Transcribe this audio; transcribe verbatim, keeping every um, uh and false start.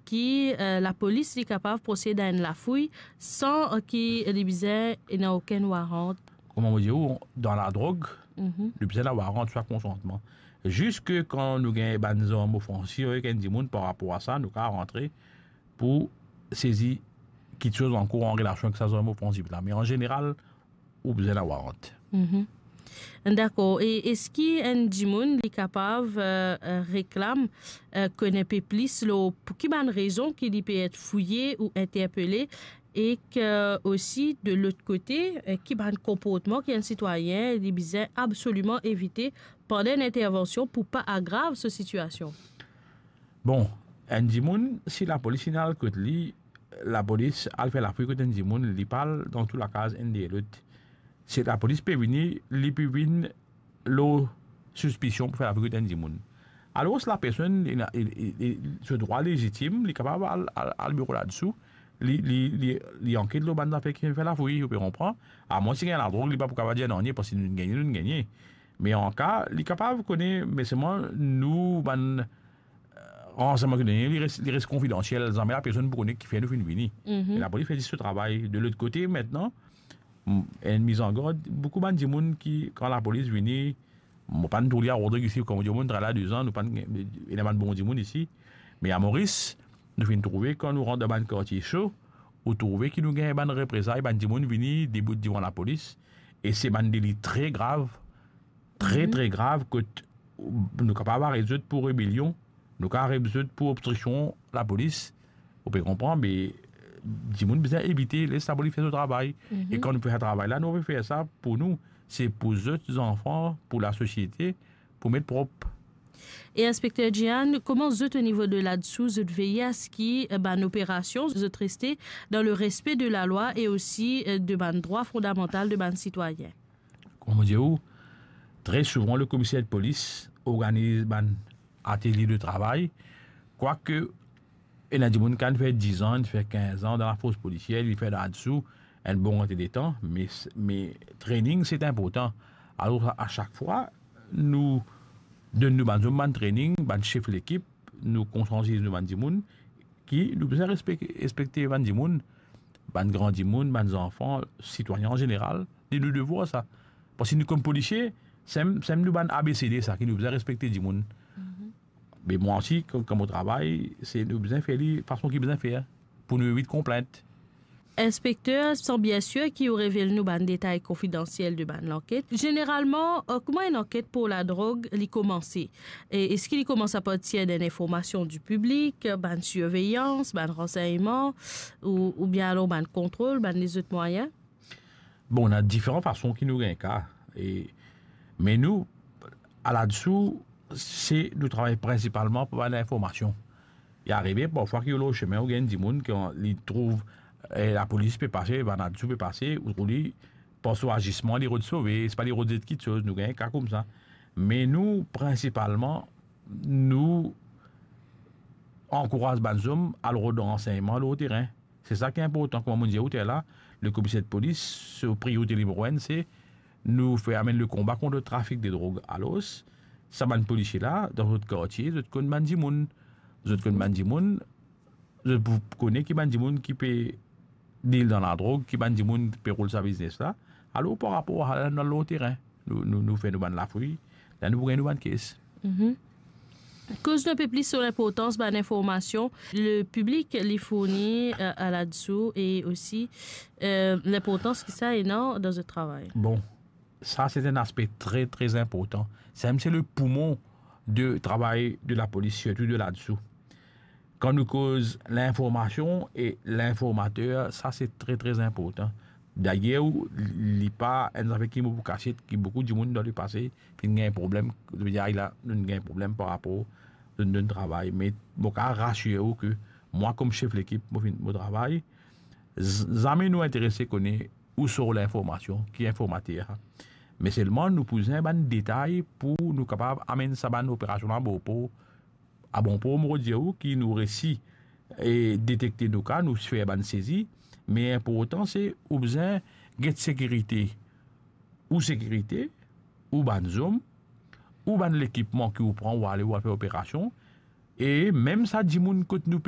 ki, eh, lapolis li kapav prosed a enn lafouy san, eh, ki li bizin ena okenn warant? Kouma mo dir ou, dan ladrog, Mhm. li bizin lawarant, swa konsantman. Ziska kan nou gagn bann zarm ofansif avek enn dimoun, par rapor a sa, nou kapav rantre pou sezi kiksoz ankor an relasion avek sa zarm ofansif la. Me an zeneral, ou bizin lawarant. Mhm. Dakor. E eski enn dimoun li kapav, eh, eh, reklam, eh, konn enn pe plis lor pou ki bann rezon ki li pe et fouye ou interpele, e ki osi, de lot kote, eh, ki bann konportman ki enn sitwayin li bizin absoliman evite pandan enn intervansion pou pa agrav so sitiasion? Bon, enn dimoun, si lapolis inn al kot li, lapolis al fer lafouy kot enn dimoun, li pa al dan tou lakaz enn deryer lot. Si lapolis pe vini, li pe vinn lor sispision pou fer lafouy kot enn dimoun. Alor, lapersonn, li ena, li, li, li, so drwa lezitim, li kapav al, al, al biro ladsu, li, li, li, li anket lor bann zafer ki fer lafouy, ou pe konpran. Amwens si gagn ladrog, li pa pou kapav dir nanye, parski nou gagne, nou gagne. Me an ka, li kapav kone, me selman nou bann, eh, ransegnman ki done, li res, li res konfidansiel, zame lapersonn pou kone kifer nou finn vini. Mhm. E lapolis fer zis so travay. De lot kote, aster, m-, enn mizangard, boukou bann dimoun ki, kan lapolis vini, mo pa'nn trouv li a Rodrig isi, kouma dimoun travay la dezan, nou pa'nn, ena bann bon dimoun isi. Me a Moris, nou finn trouve, kan nou rant dan bann kartie so, ou trouve ki nou gagn bann reprezay, bann dimoun vini debout devan lapolis, e se bann deli tre grav, tre, Mhm. tre grav, kot nou kapav aret zot pou rebelion, nou kapav aret zot pou obstriksion lapolis, ou pe konpran, me dimoun bizin evite, les lapolis fer so travay. Mhm. E kan nou pe fer travay la, nou pe fer sa pou nou, se pou zot zanfan, pou lasosiete, pou met prop. E Inspekter Jehan, kouma zot o nivo de ladsu, zot veye aski, eh, bann operasion, zot reste dan le respe de lalwa e osi, eh, de bann drwa fondamantal de bann sitwayin? Kouma mo dir ou, tre souvan, le komiser de polis organiz bann atelie de travay, kwake ena dimoun ki inn fer diz an, inn fer kinz an dan lafors polisier, li fer ladsu enn bon kantite letan, me, me training, se inportan. Alor, a, a sak fwa, nou donn nou bann zom bann training, bann sef lekip, nou konsiantiz nou bann dimoun, ki nou bizin respek-, respekte bann dimoun, bann gran dimoun, bann zanfan, sitwayin an zeneral, li nou devwar sa. Parski nou kom polisie, sem, sem nou bann A B C D sa, ki nou bizin respekte dimoun. Mhm. Me mwa osi, kan, kan mo travay, se nou bizin fer li fason ki bizin fer, pou nou evit konplint. Inspekter, san bien sir ki ou revel nou bann detay konfidansiel de bann lanket. Zeneralman, eh, kouma enn anket pou ladrog li koumanse? E eski li koumans apartir d'enn informasion di piblik, bann sirveyans, bann ransegnman, ou, oubien alor bann kontrol, bann lezot mwayin? Bon, ena diferan fason ki nou gagn ka. E, me nou, a ladsu, se nou travay prinsipalman par bann informasion. Li arive parfwa ki ou lor sime, ou gagn dimoun ki an-, li trouv, eh, lapolis pe pase, bann ladsu pe pase, ou trouv li, par so azisman, li rod sove, sipa li rod zet kiksoz, nou gagn ka koumsa. Me nou, prinsipalman, nou ankouraz bann zom al rod ransegnman lor terin. Se sa ki inportan. Kouma mo dir ou lerla, le komiser de polis, so priorite nimero enn, se nou fer amenn le konba kont le trafik de drog. Alor, sa bann polisie la, dan zot kartie, zot konn bann dimoun. Zot konn bann dimoun, zot pou kone ki bann dimoun ki pe deal dan ladrog, ki bann dimoun pe roul sa biznes la. Alor, par rapor a la, nou al lor terin, nou, nou, nou fer nou bann lafouy, la nou pou gagn nou bann kes. Mhm. Koz nou enn pe plis lor linportans bann informasion le piblik li fourni, eh, a ladsu e osi, eh, linportans ki sa ena dan zot travay. Bon, sa se enn aspe tre, tre inportan. Sa mem se le poumon de travay de lapolis, sirtou de ladsu. Kan nou koz linformasion e linformater, sa se tre, tre inportan. Dayer, li pa enn zafer ki mo pou kasiet, ki boukou dimoun dan lepase finn gagn problem, zot dir, "Ay la, nou gagn problem par rapor zot donn travay." Me mo kapav rasir ou ki mwa, kom sef lekip, mo finn, mo travay, z-, zame nou interese kone ou sort linformasion, ki informater. Me selman nou pou bizin bann detay pou nou kapav amenn sa bann operasion la a bon por, a bon por, mo dir ou, ki nou resi, e, detekte nou ka, nou fer bann sezi, me inportan se ou bizin get sekirite, ou sekirite, ou bann zom, ou bann lekipman ki ou pran, ou ale, ou al fer operasion, e mem sa dimoun kot nou pe